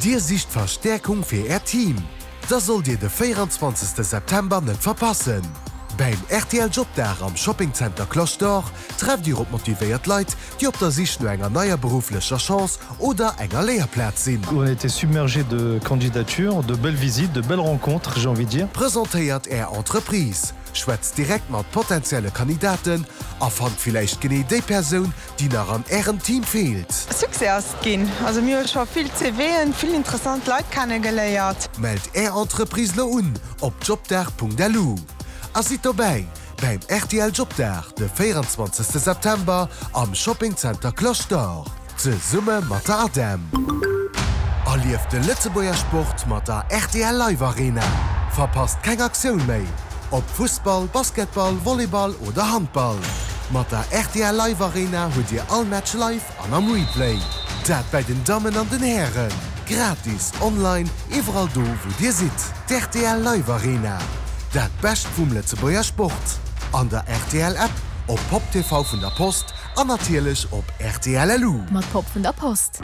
Dir sicht Verstäerkung fir Äert Team? Da sollt Dir de 24 September net verpassen! Bäim rtl Jobdag am Shopping Center Cloche d'Or trefft Dir op motivéiert Leit, déi op der Sich no enger neier berufflecher Chance oder enger Léierplaz sinn. On a été submergé de candidatures, de belles visites, de belles rencontres, j'ai envie de dire. Presentéiert Är Entreprise, schwätzt direkt mat potentielle Kandidaten a fannt villäicht genee déi Persoun, déi nach an Ärem Team feelt. Succès ass et ginn. Also mir hu scho vill CVen, vill interessant Leit kennegeléiert. Mellt Är Entreprise lo un op jobdag.lu a sidd dobäi bäim rtl Jobdag de 24 September am Shopping Center Cloche d'Or zesumme mat der ADEM. Erlieft de Lëtzebuerger Sport mat der rtl Live Arena. Verpasst keng Aktioun méi! Ob Fussball, Basketball, Volleyball oder Handball, mat der rtl Live Arena hutt Dir all Match live an am Replay. Dat bäi den Dammen an den Hären, gratis, online, iwwerall do wou Dir sidd. D'rtl Live Arena, dat Bescht vum Lëtzebuerger Sport, an der rtl App, op Pop TV vun der Post an natierlech op rtl LU. Mat Pop vun der Post.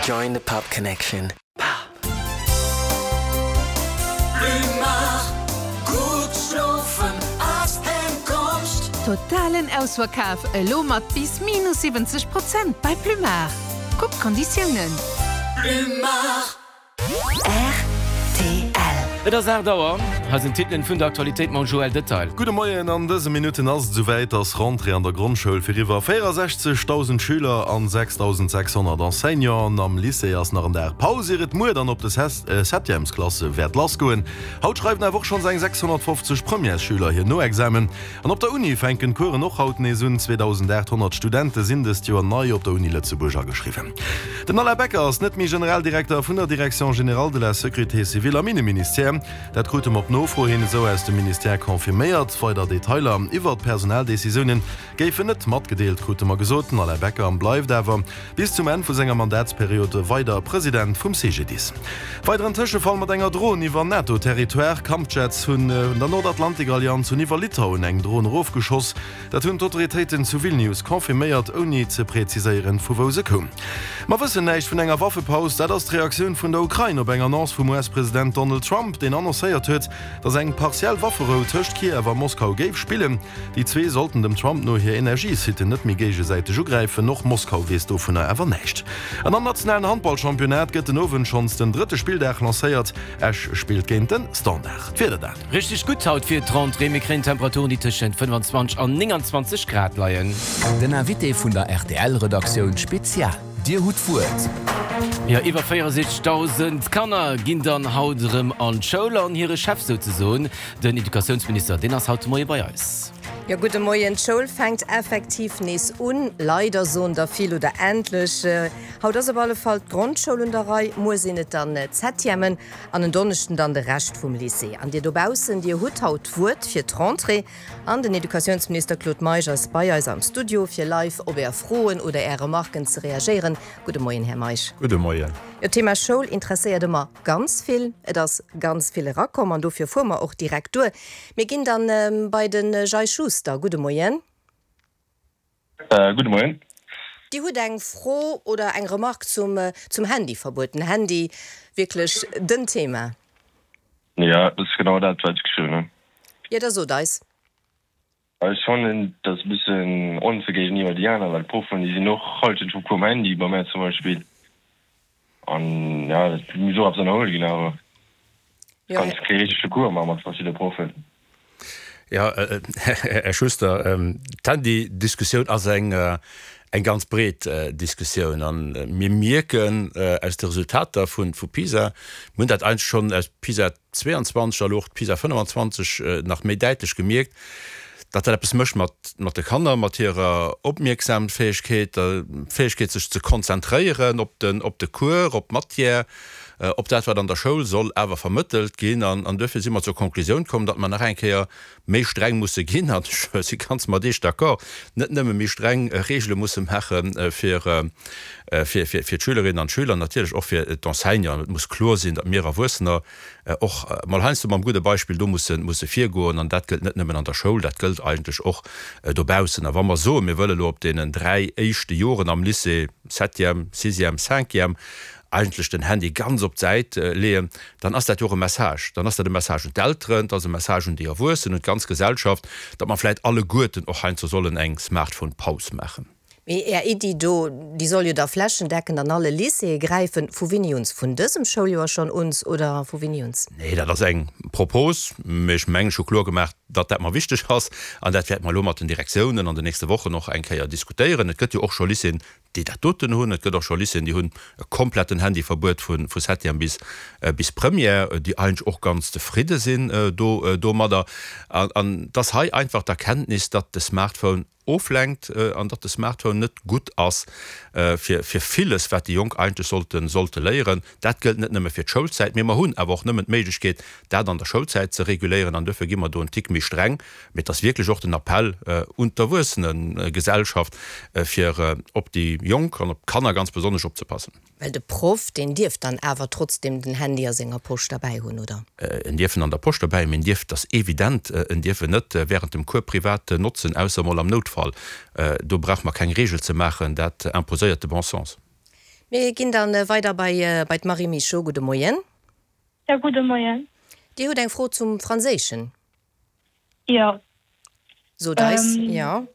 Join the Pop Connection. Totalen Ausverkaf elo mat bis minus 70 Prozent bei Plumard. Kuck d'Konditiounen. Rtl. Et ass 8 Auer. Hei sinn d'Titelen vun der Aktualitéit mam Joël Detail. Gudde Moien, An dëse Minutten ass et esouwäit, ass Rentrée an der Grondschoul fir iwwer 64.000 Schüler an 6.600 Enseignanten. Am Lycée ass nach en Dag Paus, ier et muer dann op de Septièmesklasse wäert lassgoen. Haut schreiwen awer och schonns eng 650 Premièresschüler hir Noexamen. An op der Uni fänken d'Coursen och haut nees un. 2.800 Studente sinn dëst Joer nei op der Uni Lëtzebuerg ageschriwwen. Den Alain Becker ass net méi Generaldirekter vun der Direction générale de la sécurité civile am Inneministère. Dat krute mer op Nofro hin esou aus dem Ministère confirméiert. Weider Detailer iwwert d'Personaldecisioune géifen net matgedeelt, krute mer gesot. Den Alain Becker bleift awer bis zum Enn vu senger Mandatsperiod weider President vum CGDIS. Weideren Tëschefall mat enger Dron iwwer NATO-Territoire, Kampfjets hunn der Nordatlantik-Allianz hunn iwwer Litauen eng Dron erofgeschoss. Dat hunn d'Autoritéiten zu Vilnius confirméiert, ouni ze preziséieren, vu wou se koum. Mer wëssen näischt vun enger Waffepaus. Dat ass d'Reaktioun vun der Ukrain op eng Annonce vum US-President Donald Trump, deen annoncéiert huet, datt eng partiell Wafferou tëscht Kiew a Moskau géif spillen. Déi zwee sollten dem Trump no hir Energiesitten net méi géigesäiteg ugräifen. Och Moskau weess dovunner awer näischt. An am nationalen Handballchampionnat gëtt den Owend schonns den drëtte Spilldag lancéiert. Esch spillt géint de Standard. D'Wieder dann. Richteg gutt haut fir d'Rentrée, mir kréien Temperaturen déi tëschent 25 an 29 Grad leien. Den Invité vun der RTL-Redaktioun Spezial. Dir hutt d'Wuert. Jo, iwwer 64.000 Kanner ginn dann haut erëm an d'Schoul an hire Chef souzesoen, den Educatiounsminister, deen ass haut de Moie bei eis. Jo, gudde Moien. D'Schoul fänkt effektiv nees un. Leider, soen der vill, oder endlech. Haut ass op alle Fall d'Grondschoul un der Rei, muer sinn et dann d'Septièmen an en Donneschden dann de Rescht vum Lycée. An Dir dobaussen, Dir hutt haut d'Wuert fir d'Rentrée. An den Educatiounsminister Claude Meisch ass bei eis am Studio, fir live op Är Froen oder Är Remarken ze reagéieren. Gudde Moien, Här Meisch. Gudde Moien. Jo, d'Thema Schoul interesséiert ëmmer ganz vill. Et ass ganz vill erakomm an dofir fuere mer och direkt duer. Mir ginn dann bei de Jay Schuster. Gudde Moien. Gudde Moien. Dir hutt eng Fro oder eng Remarque zum zum Handyverbuet. Den Handy, wierklech den Thema. Jo, dat ass genau dat, wat ech geschriwwen hunn. Jo, da sot eis. Ech fannen, dat ass e bëssen onfair géigeniwwer déi aner, well d'Proffen, déi sinn och Halschent vum Cours um Handy, bei mär zum Beispill. An jo, dat muss och eppes ënnerhuel ginn awer. Du kanns kee richtege Cours maache mat verschidde Proffen. Jo, Här Schuster, d'Handydiskussioun ass eng eng ganz breet Diskussioun. A mir mierken aus de Resultater vu PISA, mir hunn dat eigentlech schonn aus PISA 22 a lo och d'PISA 25 nach méi däitlech gemierkt, datt dat eppes mécht mat mat de Kanner, mat hirer Opmierksamfäegkeet, der Fäegkeet sech ze konzentréieren op den op de Cours, op d'Matière. Op dat, wat an der Schoul soll awer vermëttelt ginn. An duerfir si mer zur Konklusioun komm, datt mer nach eng Kéier méi streng musse ginn, an ech si ganz mat Iech d'accord, net nëmme méi streng Regele musse maache fir d'Schülerinnen an d'Schüler, natierlech och fir d'Enseignanten. Et muss kloer sinn, datt mir Erwuessener och mol heiansdo mam gudde Beispill do musse virgoen. An dat gëllt net nëmmen an der Schoul, dat gëllt eigentlech och dobaussen. A wa mer soen, mir wëlle lo op deenen 3 éischte Joren am Lycée, Septième, Sixième, Cinquième, eigentlech den Handy ganz op d'Säit leeën, dann ass dat jo och e Message. Dann ass dat e Message un d'Elteren, et ass e Message un déi Erwuessen, un d'ganz Gesellschaft, datt mer vläit alleguerten och heiansdo sollen eng Smartphone-Paus maachen. Mee Är Iddi do, déi soll jo da flächendeckend an alle Lycéeë gräifen. Vu wéini uns? Vun dësem Schouljoer schonn uns oder vu wéini uns? Nee, dat ass eng Propos, mee ech mengen, ech hu kloer gemaach, datt dat mer wichteg ass. An dat wäerte mer elo mat den Direktiounen an den nächste Wochen och eng Kéier diskutéieren. Et gëtt jo och scho Lycéeën, déi dat doten hunn. Et gëtt och scho Lycéeën, déi hunn e kompletten Handyverbuet vu vu Septième bis bis Première, déi eigentlech och ganz zefridde sinn do domadder. An an et ass hei einfach d'Erkenntnis, datt de Smartphone oflenkt an datt de Smartphone net gutt ass fir fir villes, wat déi Jonk eigentlech sollte sollte léieren. Dat gëllt net nëmme fir d'Schoulzäit, mee mer hunn awer och nëmmen d'Méiglechkeet, dat an der Schoulzäit ze reguléieren an duerfir gi mer do en Tick méi streng. Mee et ass wierklech och den Appell un d'Erwuessenegesellschaft, fir op déi Jonk an op d'Kanner ganz besonnesch opzepassen. Well de Proff, deen dierf dann awer trotzdem den Handy a senger Posch derbäi hunn, oder? En dierf en an der Posch derbäi hunn, mee en dierf, et ass evident, en dierf en net während dem Cours privat notzen, ausser emol am Noutfall. Do brauche mer keng Regel ze maachen, dat imposéiert de bon sens. Mir ginn dann weider bei d'Marie Michaud. Gudde Moien. Jo, gudde Moien. Dir hutt eng Fro zum Franséischen? Jo. Sot eis, jo.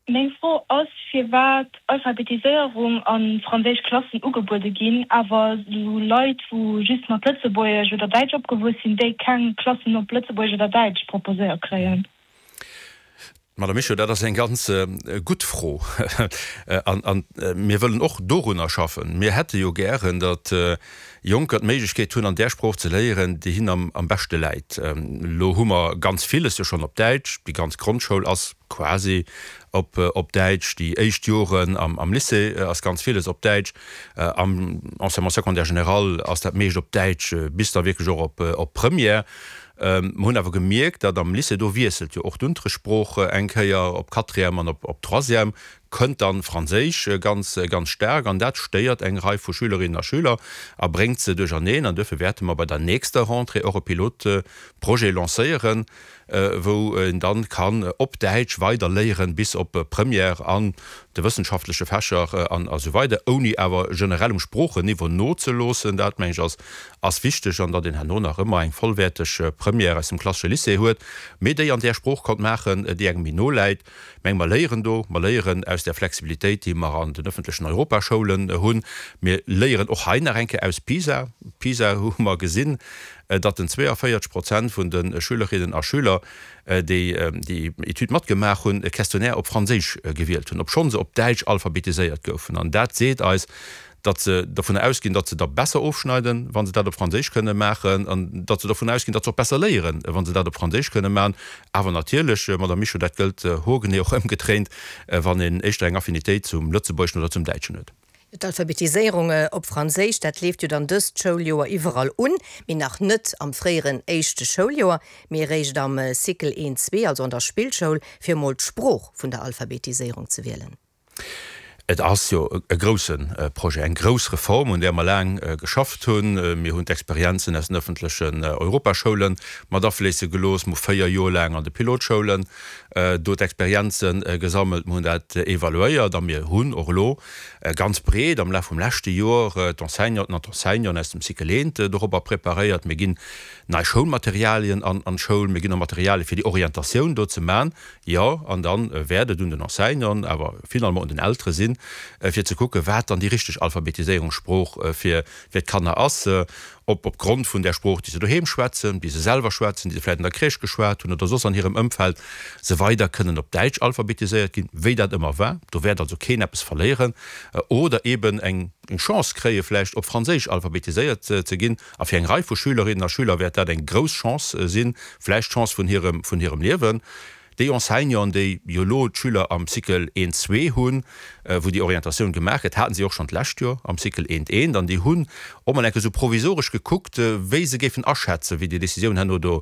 Meng Fro ass, firwat Alphabetiséierung a franséisch Klassen ugebuede ginn, awer sou Leit, wou just mat Lëtzebuergesch oder Däitsch opgewuess sinn, déi keng Klassen op Lëtzebuergesch oder Däitsch proposéiert kréien. Madame Mischo, dat ass eng ganz gutt Fro. An mir wëllen och dorunner schaffen. Mir hätte jo gären, datt Jonker d'Méiglechkeet hunn, an där Sprooch ze léieren, déi hinnen am beschte läit. Elo hu mer ganz villes jo schonn op Däitsch. Déi ganz Grondschoul ass quasi op Däitsch. Déi éischt Joren am Lycée ass ganz villes op Däitsch. Am Enseignement secondaire général ass dat meescht op Däitsch, bis da wierklech och op Première. Mer hunn awer gemierkt, datt am Lycée, do wiesselt jo och d'Unterrichtssprooch eng Kéier op Quatrième an op Troisième, kënnt dann Franséisch ganz, ganz staark an dat stéiert eng Rei vu Schülerinnen a Schüler a bréngt se duercherneen. An duerfir wäerte mer bei der nächster Rentrée och e Pilotprojet lancéieren, wou een dann kann op Däitsch weider léieren bis op Première an de wëssenschaftleche Fächer an esou weider, ouni awer generell um Sproocheniveau nozeloossen. Dat, meng ech, ass ass wichteg an datt een herno nach ëmmer eng vollwäerteg Première aus dem klassesche Lycée huet, mee déi an där Sprooch konnt maachen, déi engem méi no läit. Meng mer léieren do, mer léieren aus där Flexibilitéit, déi mer an den öffentlechen Europaschoulen hunn. Mir léieren och hei nach eng Kéier aus PISA. PISA hu mer gesinn, datt den 42 Prozent vun de Schülerinnen a Schüler, déi déi Etüd matgemaach hunn, e Questionnaire op Franséisch gewielt hunn, obschonn se op Däitsch alphabetiséiert goufen. An dat seet eis, datt se dovunner ausginn, datt se da besser ofschneiden, wa se dat op Franséisch kënne maachen, an datt se dovunner ausginn, datt se och besser léieren, wa se dat op Franséisch kënne maachen. Awer natierlech, Madame Mischo, dat gëllt hoergenee och ëmgedréint, wann een éischter eng Affinitéit zum Lëtzebuergeschen oder zum Däitschen huet. D'Alphabetiséierung op Franséisch, dat leeft jo dann dëst Schouljoer iwwerall un, mee nach net am fréieren éischte Schouljoer, mee eréischt am Cycle 1, 2, also an der Spillschoul, fir emol d'Sprooch vun der Alphabetiséierung ze wielen. Et ass jo e grouse Projet, eng grouss Reform, un där mer laang geschafft hunn. Mir hunn d'Experienzen aus den öffentlechen Europaschoule mat afléisse gelooss. Mir hu 4 Joer laang an de Pilotschoulen do d'Experienze gesammelt. Mir hunn dat evaluéiert a mir hunn och elo ganz breet am Laf vum leschte Joer d'Enseignanten an d'Enseignanten aus dem Cycle eent dorobber preparéiert. Mir ginn nei Schoulmaterialien an d'Schoul. Mir ginn och Materialie fir déi Orientatioun do ze man. Jo, an da wäert et un den Enseignanten, awer finalement un den Eltere sinn, fir ze kucken, wat dann déi richteg Alphabetiséierungssprooch fir d'Kanner ass, ob opgrond vun där Sprooch, déi se doheem schwätzen, déi se selwer schwätzen, déi se vläicht an der Crèche geschwat hunn oder soss an hirem Ëmfeld, se weider kënnen op Däitsch alphabetiséiert ginn, wéi dat ëmmer war, do wäert also keen eppes verléieren, oder eeben eng Chance kréie vläicht op Franséisch alphabetiséiert ze ginn. A fir eng Rei vu Schülerinnen a Schüler wäert dat eng grouss Chance sinn, vläicht d'Chance vun hirem, vun hirem Liewen. Déi Enseignanten, déi jo elo d'Schüler am Cycle eent, zwee hunn, wou déi Orientatioun gemaach gëtt, haten si och schonn d'lescht Joer am Cycle eent, eent. An déi hunn och mol eng Kéier esou provisoresch gekuckt, wéi se géifen aschätzen, wéi déi Décisioun herno do,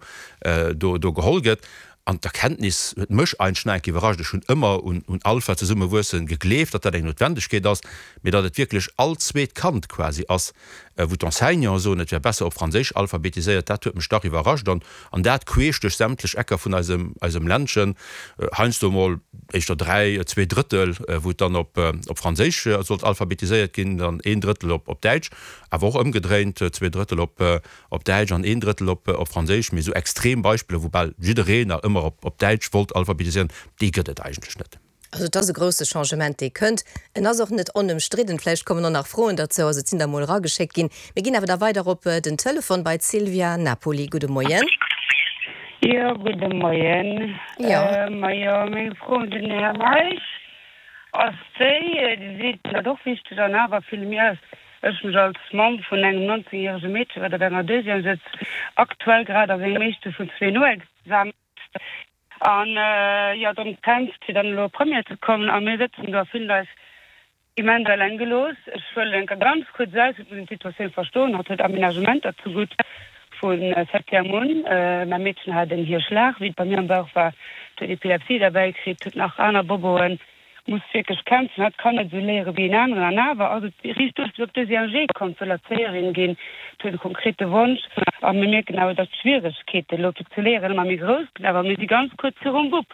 do, do geholl gëtt. An d'Erkenntnis huet mech eigentlech nach eng Kéier iwwerrascht. Ech hunn ëmmer un, un Alpha zesummewuessen gegleeft, datt dat eng Noutwendegkeet ass, mee datt et wierklech all zweet Kand quasi ass, wou d'Enseignanten soen, et wär besser op Franséisch alphabetiséiert, dat huet mech dach iwwerrascht. An, an dat queesch duerch sämtlech Ecker vun eisem, eisem Ländchen, heiansdo emol éischter 3, 2 Drëttel, wou et dann op, op Franséisch sollt alphabetiséiert ginn, dann een Drëttel op, op Däitsch, awer och ëmgedréint, 2 Drëttel op, op Däitsch an een Drëttel op op Franséisch, mee esou extrem Beispiller, wou bal jiddereen nach ëmmer op op Däitsch wollt alphabetiséieren, déi gëtt et eigentlech net. Also et ass e grousse Changement, dee kënnt. En ass och net onëmstridden. Vläicht kommen och nach Froen derzou. Also et sinn der emol erageschéckt ginn. Mir ginn awer da weider op den Telefon bei d'Sylvia Napoli. Gudde Moien. Jo, gudde Moien. Jo. Majo, meng Fro un den Här Meisch ass déi, Dir seet dat och wichteg an awer fille mir eis Ech mech als Mamm vun engem 19 järege Meedche wat op enger Deuxième sëtzt, aktuell grad a sengem éischte vun zwee Noexamen an jo drëm kämpft fir dann elo op Première ze kommen a mir sëtzen do a fillen eis immens eleng gelooss. Ech huelen enker ganz kuerz aus, et muss een d'Situatioun verstoen, hatt huet Aménagementer zegutt vu Septième un. Mäi Meedchen hat en Hierschlag wéi et bei mir am Bauch war, huet Epilepsie derbäi kritt, huet nach aner Boboen. Muss wierklech kämpfen, hatt kann net esou léiere wéi en aneren an awer ass et riicht duerch bis op deuxième G komm, wëll Erzéierin ginn, huet e konkrete Wonsch a mir mierken awer, datt d'Schwieregkeete elo fir ze léieren ëmmer méi grouss ginn, awer mir si ganz kuerz virum Bub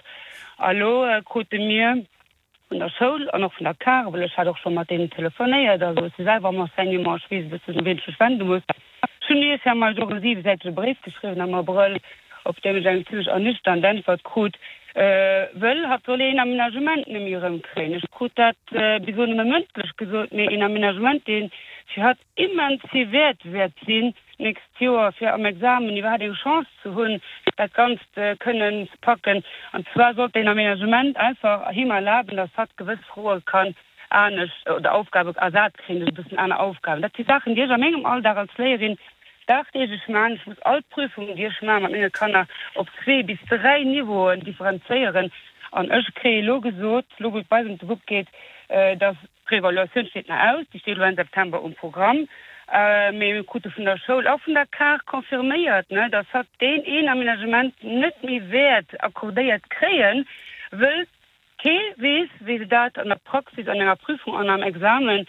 a lo krute mir vun der Schoul an och vun der Car, well ech hat och scho mat deenen telefonéiert, also ech si selwer am Enseignement, ech weess e bëssen u wien ech mech wende muss. Ech hunn Iech, Här Meisch, och e siwesäitege Bréif geschriwwen am Abrëll, op deem ech eng zimlech ernüchternd Äntwert krut, wëll hatt soll een Aménagement nëmme erëmkréien. Ech krut dat bis elo nëmme mëndlech gesot, mee een Aménagement, dee fir hatt immens vill wäert wäert sinn d'nächst Joer, fir am Examen iwwerhaapt eng Chance ze hunn, dat Ganzt kënnen ze packen. An zwar sollt deen Aménagement einfach him erlaben, datt hatt gewëss Froe kann anescht oder Aufgabe ersat kréien duerch e bëssen aner Aufgaben. Dat si Saachen, déi ech a mengem Alldag als Léierin dagdeeglech maachen. Ech muss all Prüfungen, déi ech maache mat menge Kanner, op zwee bis dräi Niveauen differenzéieren. An ech kréie elo gesot, elo wou et bei eis ëm de Bub geet, dass, d'Reevaluatioun steet nach aus, déi steet elo Enn September um Programm, mee mir krute vun der Schoul a vun der CARE confirméiert, dass hatt deen een Aménagement net méi wäert accordéiert kréien, wëll Kee weess, wéi se dat an der Praxis, an enger Prüfung an am Examen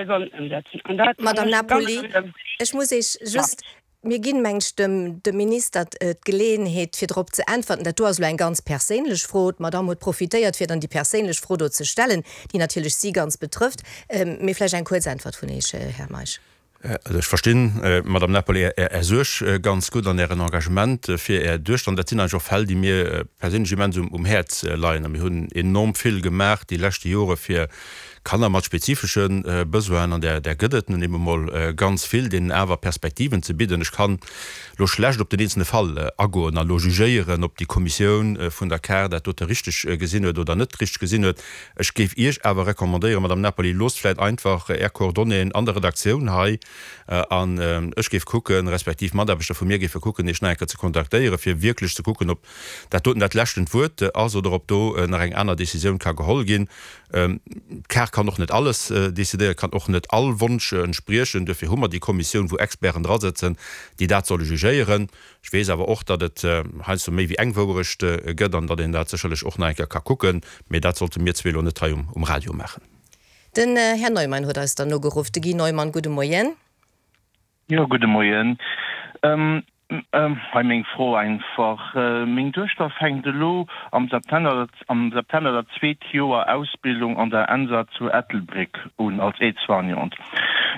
sollen ëmsetzen. An dat Madame mécht ganz Napoli, schlëmm. ech muss Iech just, mir ginn, meng ech, dem, dem Minister d'Geleeënheet, fir drop ze äntwerten. Dat do ass elo eng ganz perséinlech Fro. D'Madame huet profitéiert, fir dann déi perséinlech Fro do ze stellen, déi natierlech si ganz betrëfft. Mee vläicht eng kuerz Äntwert vun Iech, Här Meisch. Also ech verstinn, Madame Napoli, Är Suerg ganz gutt an Ären Engagement fir Är Duechter. An dat sinn eigentlech och Fäll, déi mir perséinlech immens um Häerz leien. A mir hunn enorm vill gemaach déi leschte Jore fir Kanner mat spezifesche Besoinen, an där gëtt et nun eben emol ganz vill, deenen awer Perspektiven ze bidden. Ech kann elo schlecht op den eenzelne Fall agoen a lo jugéieren, ob déi Kommissioun vun der CARE dat dote richteg gesinn huet oder net richteg gesinn huet. Ech géif Iech awer recommandéieren, Madame Napoli, loosst vläit einfach Är Coordonnéeën an der Redaktioun hei an ech géif kucken, respektiv Mataarbechter vu mir géife kucken, Iech nach eng Kéier ze kontaktéieren, fir wierklech ze kucken, ob dat doten dat leschtent Wuert ass oder ob do nach eng aner Décisioun ka geholl ginn. D'CARE kann och net alles décidéieren, kann och net all Wonsch entspriechen. Duerfir hu mer déi Kommissioun, wou Experten drasëtzen, déi dat solle jugéieren. Ech weess awer och, datt et heiansdo méi wéi eng Wouerecht gëtt an datt een dat sécherlech och nach eng Kéier ka kucken, mee dat sollte mir zwee elo net hei um Radio maachen. Den Här Neumann huet eis dann nogeruff. De Guy Neumann, gudde Moien. Jo, gudde Moien. Hei meng Fro einfach, Meng Duechter fänkt elo am September am September dat zweet Joer Ausbildung an der ENSA zu Ettelbréck un als Aide-soignante.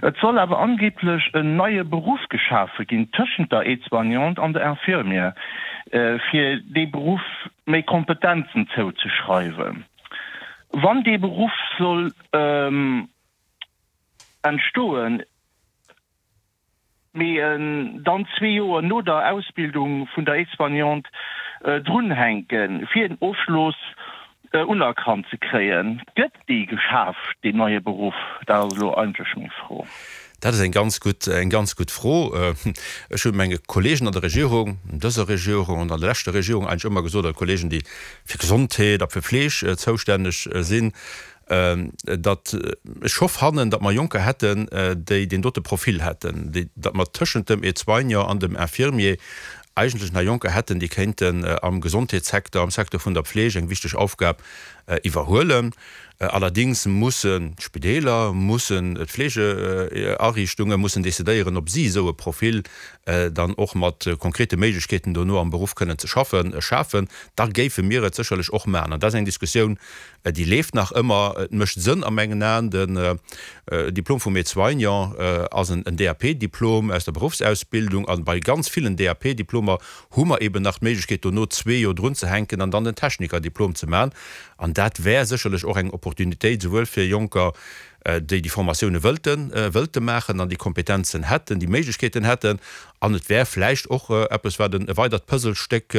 Et soll awer angeblech en neie Beruff geschafe ginn tëschent der Aide-soignante an der Infirmière, fir dee Beruff méi Kompetenzen zouzeschreiwen. Wann dee Beruff soll entstoen, mee dann zwee Joer no der Ausbildung vun der Aide-soignante drunhänken, fir en Ofschloss unerkannt ze kréien. Gëtt dee geschaf, deen neie Beruff? Dat ass elo eigentlech meng Fro. Dat ass eng ganz gutt, eng ganz gutt Fro. Ech hu menge Kollegen an der Regierung, an dëser Regierung an an der leschter Regierung eigentlech ëmmer gesot, oder Kollegen, déi fir Gesondheet a fir Fleeg zoustänneg sinn, datt ech scho fannen, datt mer Jonker hätten, déi deen dote Profil hätten, déi, datt mer tëschent dem Aide-soignant an dem Infirmier eigentlech nach Jonker hätten, déi kéinten am Gesondheetssecteur, am Secteur vun der Pfleg eng wichteg Aufgab iwwerhuelen. Allerdings mussen d'Spideeler, mussen d'Fleegeariichtunge mussen decidéieren, ob si esou e Profil dann och mat konkrete Méiglechkeeten dono am Beruff kënnen ze schaffen, schafen. Da géife mir et sécherlech och maachen. An dat ass eng Diskussioun, Déi leeft nach ëmmer. Et mécht Sënn a mengen Aen. Den Diplom vum Aide-soignant ass en DAP-Diplom aus der Beruffsausbildung. A bei ganz villen DAP-Diplomer hu mer eben nach d'Méiglechkeet, dono zwee Joer drunzehänken an dann den Techniker-Diplom ze maachen. An dat wär sécherlech och eng Opportunitéit, souwuel fir Jonker, déi déi Formatioune wëllten, wëllte maachen an déi Kompetenzen hätten, déi Méiglechkeeten hätten. An et wär vläicht och eppes, wat e weidert Puzzlestéck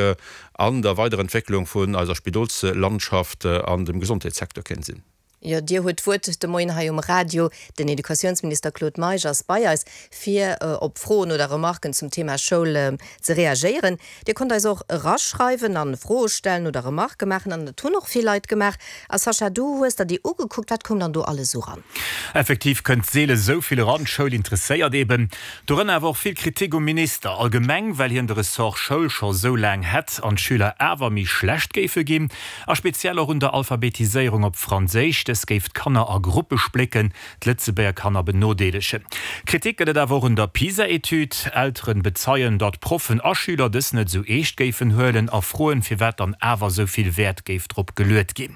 an der Weiderentwécklung vun eiser Spidolslandschaft an dem Gesondheetssecteur kéint sinn. Jo, Dir hutt d'Wuert de Moien hei um Radio. Den Educatiounsminister Claude Meisch ass bei eis, fir op Froen oder Remarken zum Thema Schoul ze reagéieren. Dir konnt eis och eraschreiwen an Froe stellen oder Remarke maachen an dat hunn och vill Leit gemaach. A Sascha, du hues der déi ugekuckt, wat koum dann do alles esou ran? Effektiv kënnt seele sou vill eran, d'Schoul interesséiert eben. Dorënner awer och vill Kritik um Minister allgemeng, well hien de Ressort Schoul scho sou laang hätt an d'Schüler awer méi schlecht géife ginn. A speziell och un der Alphabetiséierung op Franséisch, dës géif d'Kanner a Gruppe splécken, d'Lëtzebuerger Kanner benodeelegen. Kritik gëtt et awer och un der PISA-Etüd. Elteren bezeien, datt Proffen a Schüler dës net sou eescht géifen huelen a froen, firwat dann awer sou vill Wäert géif drop geluet ginn.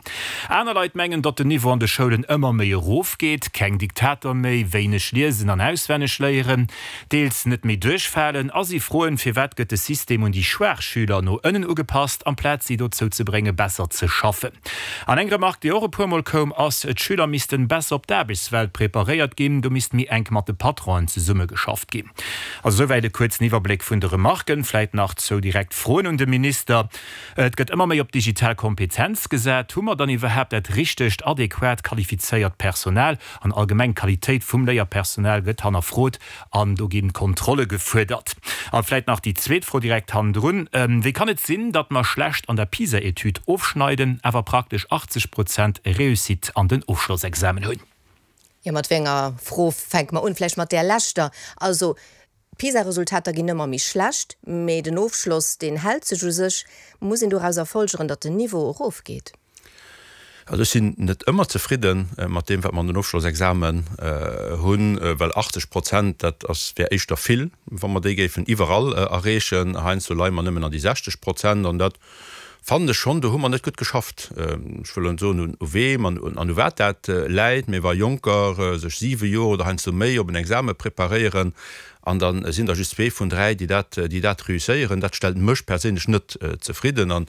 Aner Leit mengen, datt den Niveau an de Schoulen ëmmer méi erof geet, keng Diktater méi, wéineg liesen an auswenneg léieren, deels net méi duerchfalen a si froen, firwat gëtt de System un déi schwaach Schüler no ënnen ugepasst, amplaz si dozou ze brénge besser ze schaffen. An eng Remark, déi och e puer Mol koum, ass, d'Schüler missten besser op d'Aarbechtswelt preparéiert ginn, do misst méi enk mat de Patronen zesummegeschafft ginn. Also esouwäit e kuerzen Iwwerbléck vun de Remarken. Vläit nach zwou direkt Froen un de Minister. Et gëtt ëmmer méi op digital Kompetenz gesat. Hu mer dann iwwerhaapt dat richtegt, adequat, qualifizéiert Personal? An allgemeng d'Qualitéit vum Léierpersonal gëtt hannerfrot an do gi Kontrolle gefuerdert. A vläit nach déi zweet Fro direkt hannendrun, Wéi kann et sinn, datt mer schlecht an der PISA-Etüd ofschneiden, awer praktesch 80 Prozent Réussite an den Ofschlossexamen hunn? Jo, mat wéi enger Fro fänke mer un? Vläicht mat där leschter. Also, D'PISA-Resultater ginn ëmmer méi schlecht, mee den Ofschloss, deen hält sech u sech. Muss een dorauser folgeren, datt den Niveau erofgeet? Also ech sinn net ëmmer zefridde mat deem, wat mer an den Ofschlossexamen hunn, well 80 Prozent, dat ass, wär éischter vill, wa mer déi géifen iwwerall erreechen. Heiansdo leie mer nëmmen an déi 60 Prozent an dat fannen ech schonn, do hu mer net gutt geschafft. Ech wëll elo net soen, u weem an u wat dat läit, mee wa Jonker sech siwe Joer oder heiansdo méi op en Exame preparéieren an da sinn der just zwee vun dräi, déi dat, déi dat reusséieren, dat stellt mech perséinlech net zefridden. An,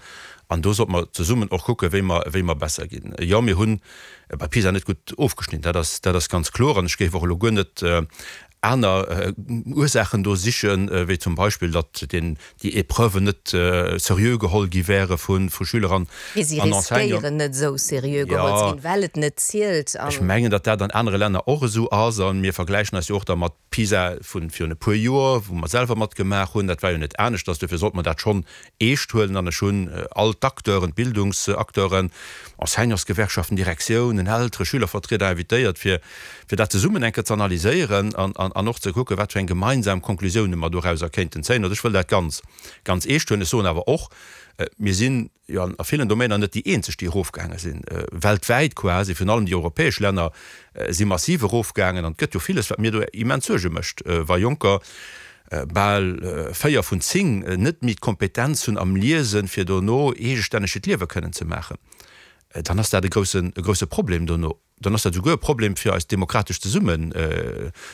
an do sollte mer zesummen och kucken, wéi mer, wéi mer besser ginn. Jo, mir hunn bei PISA net gutt ofgeschnidden, dat ass, dat ass ganz kloer. An ech géif och elo guer net aner Ursaachen do sichen, wéi zum Beispill, datt déi Épreuven net seriö geholl gi wäre vu Schüler an Mee si Enseignanten. riskéieren net esou seriö geholl ze ginn, well et net zielt. Ech mengen, datt dat an anere Länner och esou ass. A mir vergläichen eis jo och da mat PISA vu virun e puer Joer, wou mer selwer matgemaach hunn. Dat war jo net aneschters. Dofir sollte mer dat schonn eescht huelen. An ech hunn all d'Acteuren, d'Bildungsacteuren, Enseignantsgewerkschaften, Direktiounen, Eltere, Schülervertrieder invitéiert, fir fir dat zesummen eng Kéier ze analyséieren an an och ze kucken, wat fir eng gemeinsam Konklusiounen mer dorauser kéinten zéien. Also ech wëll dat ganz, ganz eescht huelen. Ech soen awer och, mir sinn jo a villen Domainer net déi eenzeg, déi erofgaange sinn. Weltwäit quasi, virun allem déi europäesch Länner si massiv erofgaangen. An et gëtt jo villes, wat mir do immens Suerge mécht, wa Jonker bal 4 vun 10 net méi d'Kompetenz hunn am Liesen, fir dono eegestänneg hiert Liewe kënnen ze maachen, dann ass dat e groussen, e grousse Problem dono. Dann ass dat esouguer e Problem fir eist demokratescht Zesummen,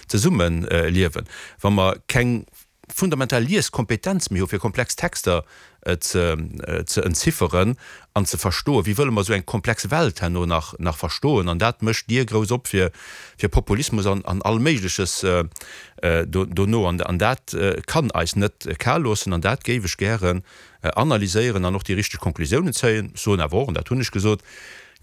Zesummeliewen, wa mer keng fundamental Lieskompetenz méi hu fir komplex Texter ze, ze entzifferen an ze verstoen. Wéi wëlle mer esou eng komplex Welt herno nach, nach verstoen? An dat mécht d'Dier grouss op fir, fir Populismus an, an all Méigleches do, dono. An, an dat kann eis net kal loossen an dat géif ech gären analyséieren an och déi richteg Konklusiounen zéien. Ech soen awer och, an dat hunn ech gesot,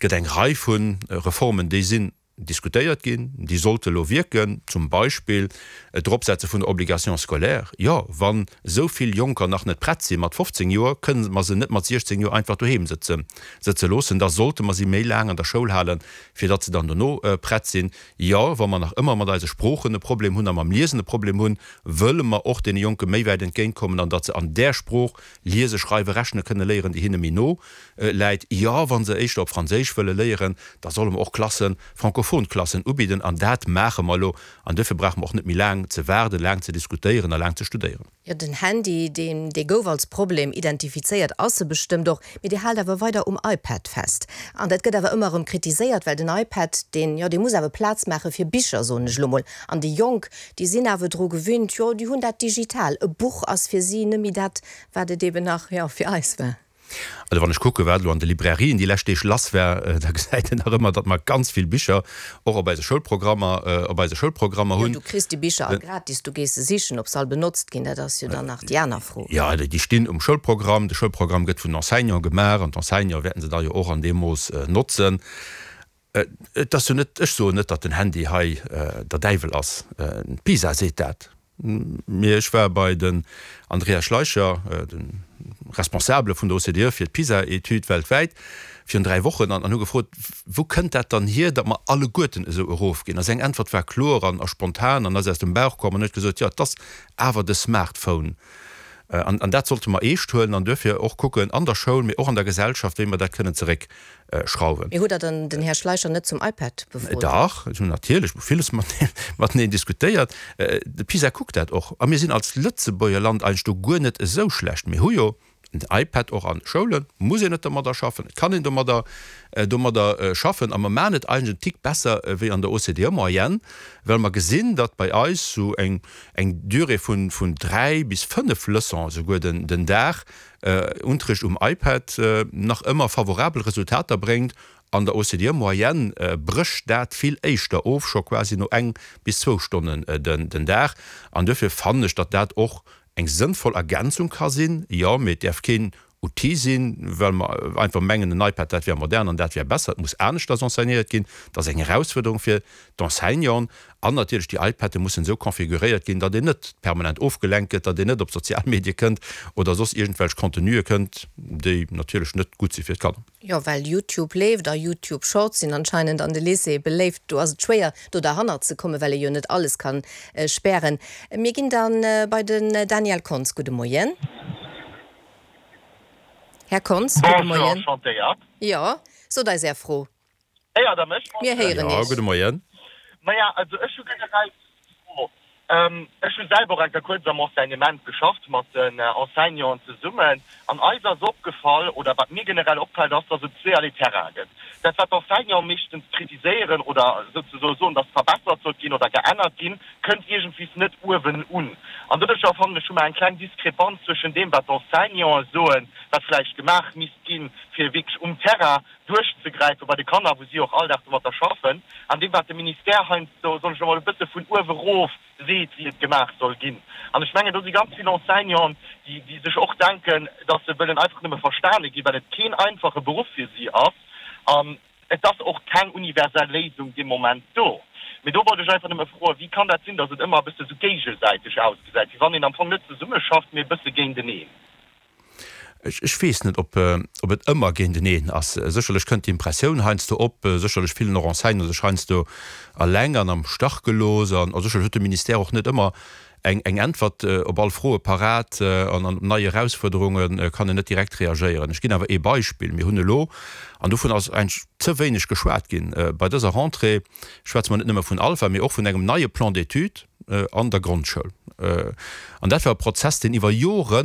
Et gëtt eng Rei vu Reformen, déi sinn. diskutéiert ginn, déi sollte elo wierken, zum Beispill d'Eropsetze vun der Obligation scolaire. Jo, wann esou vill Jonker nach net prett si mat 15 Joer, kënne mer se net mat 16 Joer einfach doheem sëtze sëtze loossen. Da sollte mer si méi laang an der Schoul halen, fir datt se dann dono prett sinn. Jo, wa mer nach ëmmer mat eise Sproochen e Problem hunn a mam Liesen e Problem hunn, wëlle mer och deene Jonke méi wäit entgéintkommen an datt se an där Sprooch liese, schreiwe, rechne kënne léieren, déi hinne méi no läit. Jo, wa se éischter op Franséisch wëlle léieren, da solle mer och Klassen, francophon Klassen ubidden. An dat maache mer elo. An duerfir brauche mer och net méi laang ze waarden, laang ze diskutéieren a laang ze studéieren. Jo, den Handy, deen, dee gouf als Problem identifizéiert, ass e bestëmmt och, mee Dir haalt awer weider um iPad fest. An dat gëtt awer ëmmer erëm kritiséiert, well den iPad, deen, jo, dee muss awer Plaz maache fir Bicher, soen ech elo mol. An déi Jonk, déi sinn awer dru gewinnt, jo, déi hunn dat digital. E Buch ass fir si net méi dat, wat et eben nach, jo, fir eis war. Also wann ech kucken, wat elo an de Librairien déi lescht Deeg lass war, da gesäit een nach ëmmer, datt mer ganz vill Bicher och op eise Schoulprogrammer, op eise Schoulprogrammer hunn. Jo, du kriss déi Bicher all gratis, du gees se sichen. Ob se all benotzt ginn, dat ass jo dann nach déi aner Fro. Jo, déi stinn um Schoulprogramm. De Schoulprogramm gëtt vun den Enseignanten gemaach an d'Enseignanten wäerten se da jo och an deem Mooss notzen. Et ass jo net, ech soen net, datt den Handy hei der Däiwel ass, d'PISA seet dat, mee ech war bei den Andreas Schleicher, de Responsabele vun der OCDE fir d'PISA-Etüd weltwäit, virun 3 Wochen an hu gefrot, wou kënnt dat dann hier, datt mer alleguerten esou erofginn? A seng Äntwert war kloer an a spontan an ass aus dem Bauch komm an huet gesot, jo, et ass awer de Smartphone. An dat sollte mer eescht huelen an duerfir och kucken an der Schoul, mee och an der Gesellschaft, wéi mer dat kënnen zeréck schrauwen. Mee hutt Der dann den Här Schleicher net zum iPad befrot? Dach, ech hunn natierlech villes mateneen diskutéiert. De PISA kuckt dat och. A mir sinn als Lëtzebuerger Land eigentlech do guer net esou schlecht. Mir hu jo den iPad och an de Schoulen, muss een net domadder schaffen, et kann een domadder domadder schaffen. A mer maachen et eigentlech en Tick besser wéi an der OCDE-Moyenne, well mer gesinn, datt bei eis esou eng eng Durée vun vun 3 bis 5 Leçons esouguer den den Dag Unterricht um iPad nach ëmmer favorabel Resultater bréngt. An der OCDE-Moyenne brécht dat vill éischter of, scho quasi no eng bis zwou Stonnen den Dag. An duerfir fannen ech, datt dat och eng sënnvoll Ergänzung ka sinn. Jo, mee et däerf keen Outil sinn, well mer einfach mengen, en iPad, dat wär modern an dat wär besser. Et muss aneschters enseignéiert ginn. Dat ass eng Erausfuerderung fir d'Enseignanten. An natierlech, déi iPaden mussen esou configuréiert ginn, datt een net permanent ofgelenkt gëtt, datt een net op sozial Medie kënnt oder soss iergendwelch Contenue kënnt, déi natierlech net gutt si fir d'Kanner. Jo, well YouTube leeft a YouTube Shorts sinn anscheinend an de Lycéeë beléift. Do ass et schwéier, do derhannert ze kommen, well ee jo net alles kann spären. Mir ginn da bei den Daniel Kontz. Gudde Moien. Här Kontz, gudde Bonjour, Moien. enchantéiert. Jo, sot eis Är Fro. Héiert der mech? Mir héieren Jo, Iech. gudde Moien. Maja, also ech hu generell d'Fro, ech hu selwer och eng Kéier kuerz am Enseignement geschafft, mat den Enseignanten zesummen, an eis ass opgefall, oder wat mir generell opfält, ass, dass et zweeërlee Terrain gëtt. Dat, wat d'Enseignanten meeschtens kritiséieren oder souzesoe soen, dass verbessert sollt ginn oder geännert ginn, kënnt iergendwies net uewen un. An doduercher fannen ech, hu mer eng kleng Diskrepanz zwëschen deem, wat d'Enseignanten soen, wat vläicht gemaach misst ginn, fir wierklech um Terrain duerchzegräife bei de Kanner, wou si och all Dag domatter schaffen, an deem wat de Ministère heiansdo, soen ech elo mol, e bësse vun uewe rof seet, wéi et gemaach soll ginn. An ech mengen, do si ganz vill Enseignanten, déi, déi sech och denken, datt se wëllen einfach nëmme verstane ginn, well et keen einfache Beruff fir si ass. An et ass och keng universell Léisung dee Moment do. Mee do wollt ech einfach nëmme froen, Wéi kann dat sinn, datt et ëmmer e bësse sou géigesäiteg ausgesäit, wéi wann een am Fong net zesummeschafft, mee e bësse géinteneen? Ech weess net, ob et ëmmer géinteneen ass. Sécherlech kënnt d'Impressioun heiansdo op, sécherlech fillen och Enseignanten sech heiansdo eleng an am Stach gelooss an sécherlech huet de Ministère och net ëmmer eng Äntwert op all Froe parat an op nei Erausfuerderunge kann en net direkt reagéieren. Ech ginn awer ee Beispill, Mir hunn elo, an dovun ass eigentlech ze wéineg geschwat ginn, bei dëser Rentrée schwätze mer net nëmme vun Alpha, mee och vun engem neie Plan d'études an der Grondschoul. An dat war e Prozess, deen iwwer Jore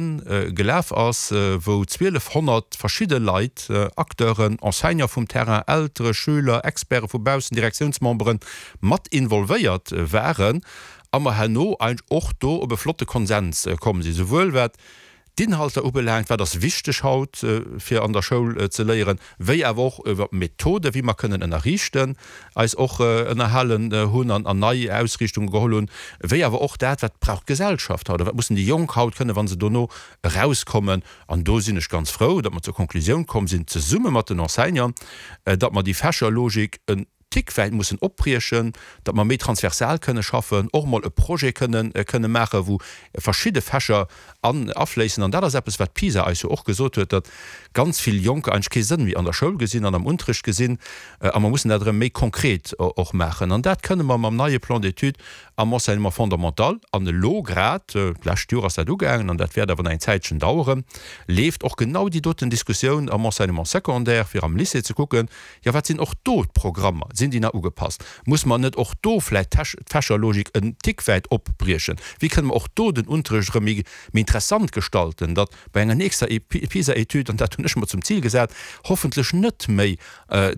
gelaf ass, wou 1.200 verschidde Leit, Acteuren, Enseignante vum Terrain, Eltere, Schüler, Experte vu baussen, Direktiounsmemberen, mat involvéiert waren a mer herno eigentlech och do op e flotte Konsens komm sinn, souwuel wat d'Inhalter ubelaangt, wat ass wichteg haut fir an der Schoul ze léieren, wéi awer och iwwer d'Methode wéi mer kënnen ënnerriichten, eis och ënnerhalen hunn an nei Ausriichtunge geholl hunn, wéi awer och dat, wat brauch d'Gesellschaft haut a wat mussen déi Jonk haut kënnen, wa se dono erauskommen. An do sinn ech ganz frou, datt mer zur Konklusioun komm sinn, zesumme mat den Enseignanten, datt mer déi Fächerlogik en. Tick wäit mussen opbriechen, datt mer méi transversal kënne schaffen, och emol e Projet kënnen kënne maachen, wou verschidde Fächer an afléissen. An dat ass eppes, wat PISA eis jo och gesot huet, datt ganz vill Jonker eigentlech kee Sënn méi an der Schoul gesinn an am Unterrecht gesinn. A mer mussen dat erëm méi konkret och maachen. An dat kënne mer mam neie Plan d'études am Enseignement fondamental, an elo grad, d'lescht Joer ass dat ugaangen an dat wäert awer nach eng Zäitchen daueren, leeft och genau déi doten Diskussioun am Enseignement secondaire, fir am Lycée ze kucken, Jo, wat sinn och do d'Programmer? Sinn déi nach ugepasst? Muss mer net och do vläicht d'Fächerlogik en Tick wäit opbriechen? Wéi kënne mer och do den Unterrecht erëm méi interessant gestalten, datt bei enger nächster PISA-Etüd, an dat hunn ech mer zum Zil gesat, hoffentlech net méi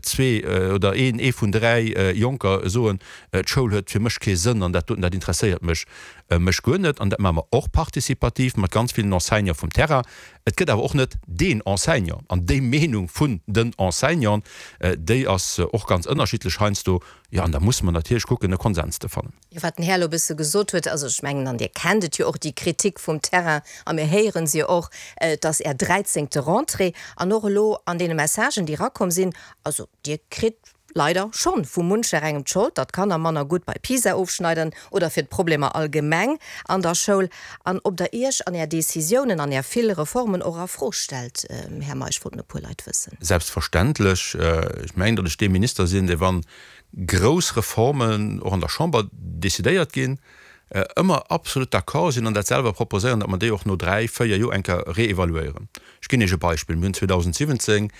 zwee oder een, ee vun dräi Jonker soen, d'Schoul huet fir mech kee Sënn an dat doten, dat interesséiert mech mech guer net. An dat maache mer och participativ mat ganz villen Enseignante vum Terrain. Et gëtt awer och net deen Enseignant, an déi Meenung vun den Enseignanten, déi ass och ganz ënnerschiddlech heiansdo. Jo, an da musse mer natierlech kucken, e Konsens ze fannen. Jo, wat den Här elo e bësse gesot huet, also ech mengen, an Dir kennt et jo och, déi Kritik vum Terrain, a mir héiere se jo och, et ass Är dräizéngte Rentrée, an och elo an deene Messagen, déi erakomm sinn, also Dir kritt leider schonn vu muncher engem d'Schold, datt d'Kanner manner gutt bei PISA ofschneiden oder fir d'Problemer allgemeng an der Schoul. An ob Der Iech an Är Decisiounen an Är vill Reformen och a Fro stellt, Här Meisch, wollten e puer Leit wëssen. Selbstverständlech. Ech mengen, datt ech dee Minister sinn, dee wann grouss Reformen och an der Chamber decidéiert ginn, ëmmer absolut d'accord sinn an dat selwer proposéieren, datt mer déi och no dräi, véier Joer eng Kéier réévaluéieren. Ech ginn Iech e Beispill, Mir hunn 2017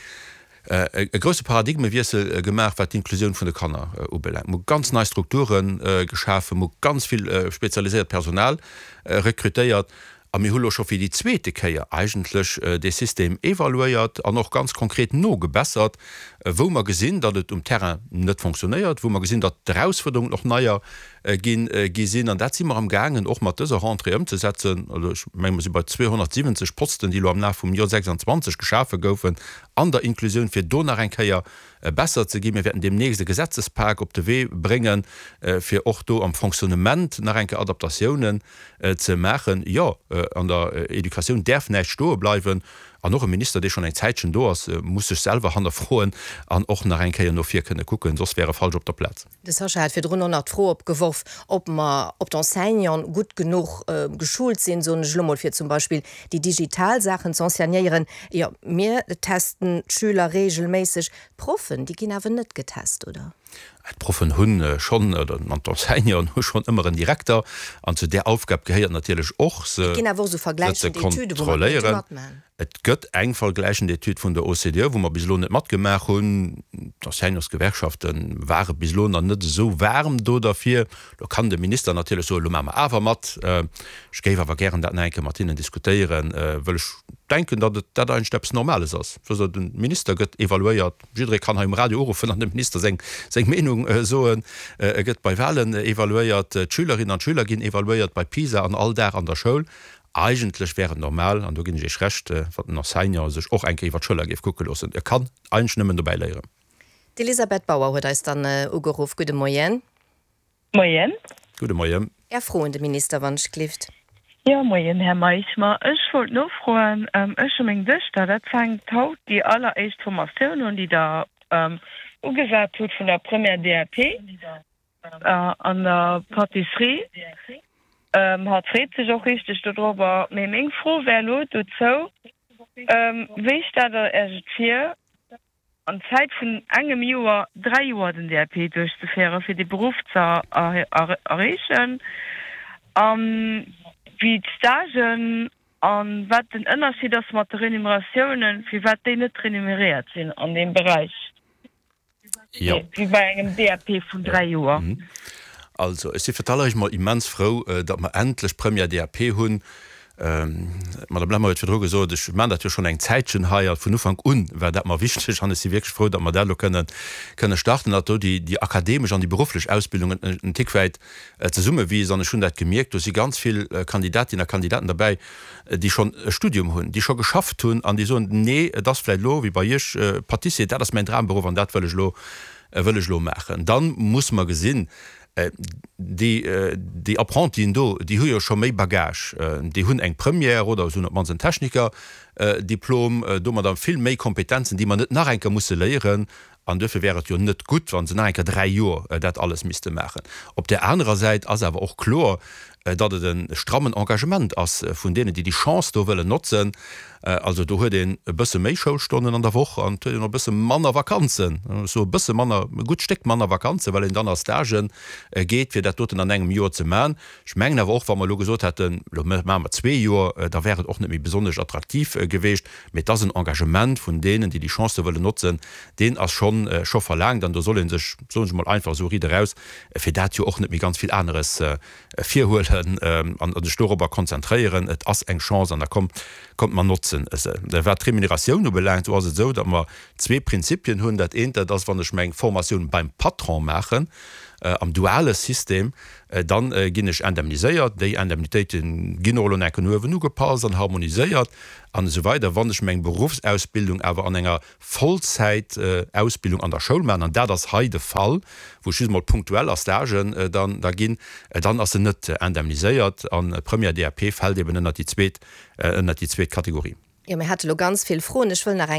e grousse Paradigmewiessel gemaach, wat d'Inklusioun vun de Kanner ubelaangt. Mir hu ganz nei Strukture geschafen, mir hu ganz vill spezialiséiert Personal rekrutéiert a mir hu lo scho fir déi zweete Kéier eigentlech dee System evaluéiert an och ganz konkret nogebessert, wou mer gesinn, datt et um Terrain net fonctionnéiert, wou mer gesinn, datt d'Erausfuerderungen och neier ginn gi sinn. An dat si mer amgaangen och mat dëser Rentrée ëmzesetzen. Also ech menge mer si bei 270 Posten, déi elo am Laf vum Joer 26 geschafe goufen an der Inklusioun, fir do nach eng Kéier besser ze ginn. Mir wäerten deemnächst e Gesetzespak op de Wee bréngen, fir och do am Fonctionnement nach eng Kéier Adaptatiounen ze maachen. Jo, an der Educatioun däerf näischt stoe bleiwen. An och e Minister, dee schonn eng Zäitchen do ass, muss sech selwer hannerfroen an och nach eng Kéier no vir kënne kucken, soss wär e falsch op der Plaz. De Sascha hat virdrun och nach d'Fro opgeworf, ob mer, ob d'Enseignanten gutt genuch geschult sinn, soen ech elo mol, fir zum Beispill déi digital Saachen z'enseignéieren. Jo, mir testen d'Schüler reegelméisseg. D'Proffen, déi ginn awer net getest, oder? D'Proffen hu schonn, oder an d'Enseignanten hu schonn ëmmer en Direkter. An zu där Aufgab gehéiert natierlech och, se Et ginn awer och esou ze vergläichend Etüden, wou mer kéinte kontrolléieren. matmachen. Et gëtt eng vergläichend Etüd vun der OCDE, wou mer bis elo net matgemaach hunn. D'Enseignantsgewerkschafte ware bis elo nach net esou waarm do derfir. Lo kann de Minister natierlech soen, elo maache mer awer mat. Ech géif awer gären dat nach eng Kéier mat hinnen diskutéieren, wëll ech denken, datt et dat eigentlech eppes Normales ass. Wësst Der, de Minister gëtt evaluéiert, jidderee kann hei um Radio uruffen an dem Minister seng seng Meenung soen. E gëtt bei Wahlen evaluéiert, d'Schülerinnen an d'Schüler ginn evaluéiert bei PISA an all Dag an der Schoul. Eigentlech wär et normal, an do ginn ech Iech Recht, wann den Enseignant sech och eng Kéier iwwer d'Schëller géif kucke loossen. E kann eigentlech nëmmen dobäi léieren. D'Elisabeth Bauer huet eis dann ugeruff. Gudde Moien. Moien. Gudde Moien. Är Fro un de Minister, wann ech glift. Jo, moien, Här Meisch. Ma ech wollt nofroen, ech hu meng Duechter, dat fänkt haut déi alleréischt Formatioun un, déi Der ugesat hutt vun der Première DAP. An der Pâtisserie. Hatt freet sech och richteg dodrobber. Mee meng Fro wär elo dozou, Wéi stellt der Iech et vir, an Zäit vun engem Joer 3 Joer den DAP duerchzeféieren, fir dee Beruff ze erreechen? A wéi d'Stagen a wat den Ënnerscheed ass mat de Renumeratiounen, firwat déi net renumeréiert sinn an deem Beräich? Jo. Wéi bei engem DAP vun 3 Joer. Also, ech si fir d'alleréischt mol immens frou, datt mer endlech Première DAP hunn. D'Madame Lemmer huet virdru gesot, ech maachen dat jo schonn eng Zäitchen hei, a vun Ufank un war dat mer wichteg an ech si wierklech frou, datt mer dat elo kënne kënne starten, datt do déi déi akademesch an déi berufflech Ausbildung en Tick wäit zesummewiisst. An ech hunn dat gemierkt, do si ganz vill Kandidatinnen a Kandidaten derbäi, déi schonn e Studium hunn, déi scho geschafft hunn an déi soen, nee, et ass vläicht elo wéi bei Iech, Pâtissier, dat ass mäin Dramberuff an dat wëll ech elo, wëll ech elo maachen. Da muss mer gesinn, déi, déi Apprentien do, déi hu jo scho méi Bagage, déi hunn eng Première oder se hunn op d'mannst en Technikerdiplom, domadder vill méi Kompetenzen, déi mer net nach eng Kéier musse léieren. An duerfir wär et jo net gutt, wa se nach eng Kéier 3 Joer dat alles misste maachen. Op där anerer Säit ass awer och kloer, datt et e strammen Engagement ass vun deenen, déi déi Chance do wëllen notzen. Also do huet een e bësse méi Schoulstonnen an der Woch an et huet een och e bësse manner Vakanzen, ech soe bësse manner, e gutt Stéck manner Vakanzen, well een dann a Stagë geet, fir dat doten an engem Joer ze maachen. Ech mengen awer och, wa mer elo gesot hätten, elo maache mer zwee Joer, da wär et och net méi besonnesch attraktiv geweecht. Mee et ass en Engagement vun deenen, déi déi Chance do wëllen notzen, deen ass schonn, scho verlaangt. An do soll ee sech, soen ech emol einfach esou riit eraus, fir dat jo och net méi ganz vill aneres virhuelen an sech dorobber konzentréieren. Et ass eng Chance an da kommt, kommt mer notzen se. Wat d'Remuneratioun ubelaangt, esou ass et esou, datt mer zwee Prinzipien hunn. Dat eent, dat ass, wann ech meng Formatioun beim Patron maachen, am duale System, dann ginn ech indemniséiert. Déi Indemnitéite ginn och elo nach no uewen ugepasst an harmoniséiert an esou weider. Wann ech meng Beruffsausbildung awer an enger Vollzäitausbildung an der Schoul maachen, an dat ass hei de Fall, wou ech just emol punktuell a Stagen dann da ginn, dann ass se net indemniséiert an Première DAP fält eben ënnert déi zweet, ënnert déi zweet Kategorie. Jo, mir hate lo ganz vill Froen. Ech wëll nach eng.